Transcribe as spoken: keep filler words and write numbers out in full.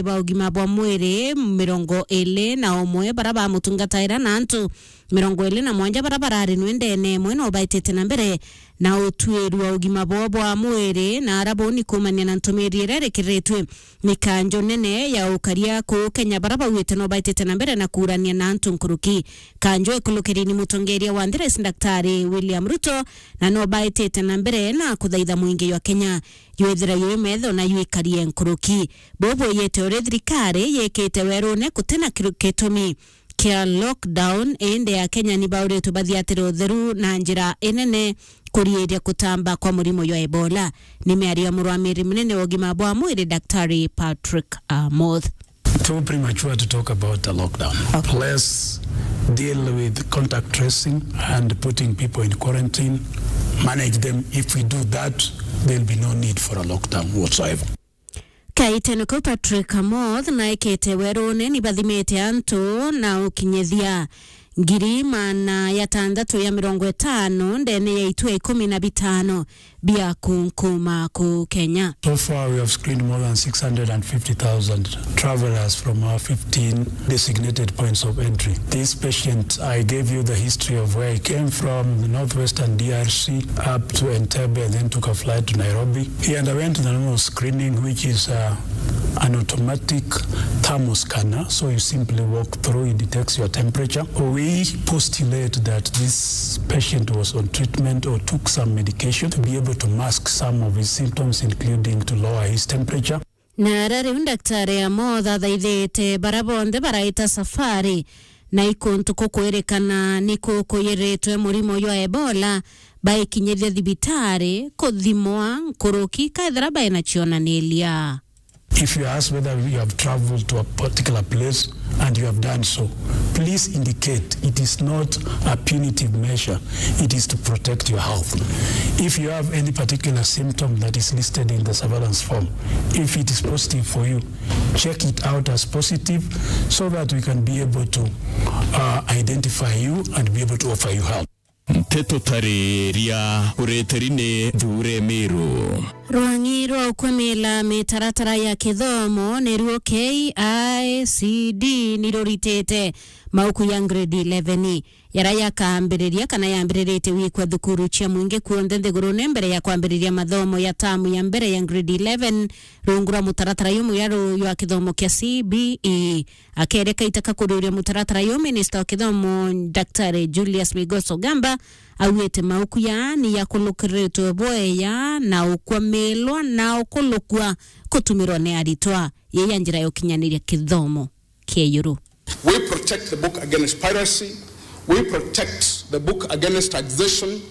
ba ugima bwa mwiri mirongo iri na umwe bara bamutungataira na antu mirongo iri na mwanja bara barari nwendene imwe no baitite na mbere na utwiri wa ugima bwao bwa mwiri, na ara boni kuumania na ntumiri iria irikiritwe ni kanjo nene ya ukaria kuu Kenya bara bauite no baitite na mbere na kuurania na antu nkuruki. Kanjo ikulukiri ni mutongeria wa nthi Rais Daktari William Ruto, na no baitite na mbere na kuthaitha mwingi jwa Kenya jwithira jwi metho na jwikarie nkuruki. Bubu yite uri thirikari yikite werune gutina kiru-, gitumi kia lockdown, indi Akenya ni bauritwe bathiatire utheru na njira inene kuriiria kutamba kwa murimo jwa Ebola. Ni miario ya murwamiri munene wa ugima bwa mwiri, Daktari Patrick Amoth. Too premature to talk about a lockdown. Okay. Let's deal with contact tracing and putting people in quarantine, manage them. If we do that, there'll be no need for a lockdown whatsoever. Kaitene kau Patrick Amoth na ekete werune ni bathimite antu na ukinyithia ngiri maana ya tantatu ya mirongo itano ndene ya itua ikumi na bitano bia kunkuma ku Kenya. So far, we have screened more than six hundred and fifty thousand travelers from our fifteen designated points of entry. This patient, I gave you the history of where he came from, the northwestern D R C, up to Entebbe, and then took a flight to Nairobi. He underwent the normal screening, which is, uh, an automatic thermoscanner. So you simply walk through, it detects your temperature. We postulate that this patient was on treatment or took some medication to be able to mask some of his symptoms, including to lower his temperature. Na ara riu Daktari Amoth athaithite bara bonthe baraita safari na ikuntu kukwirikana ni kukuyiritwe murimo jwa Ebola, baikinyithia thibitari kuthimwa nkuruki kaethira baina cionaniria. If you ask whether you have traveled to a particular place and you have done so, please indicate it is not a punitive measure, it is to protect your health. If you have any particular symptom that is listed in the surveillance form, if it is positive for you, check it out as positive so that we can be able to, uh, identify you and be able to offer you help. Nteto tariria ureteri ni Thure Miru. Rwang'i rwa ukwamila mitaratara ya kithomo niruo K I C D niruritite mauku ya grade eleven, yara yakambiriria kana yambiriritie gwikwa thukuru cia mwingi kuonthe nthigurune mbere ya kwambiriria mathomo ya tamu ya mbere ya grade eleven rungu rwa mutaratara jumwe jwa kithomo kia C B E. Akereka itaka kuriuria mutaratara juu, minista wa kithomo Daktari Julius Migos Ogamba augite mauku ya ni yakulukiritwe bweya na ukwamilwa na ukulukua kutumirwa ni aritwa yei ya njira ya ukinyaniria kithomo kia iguru. We protect the book against piracy. We protect the book against taxation.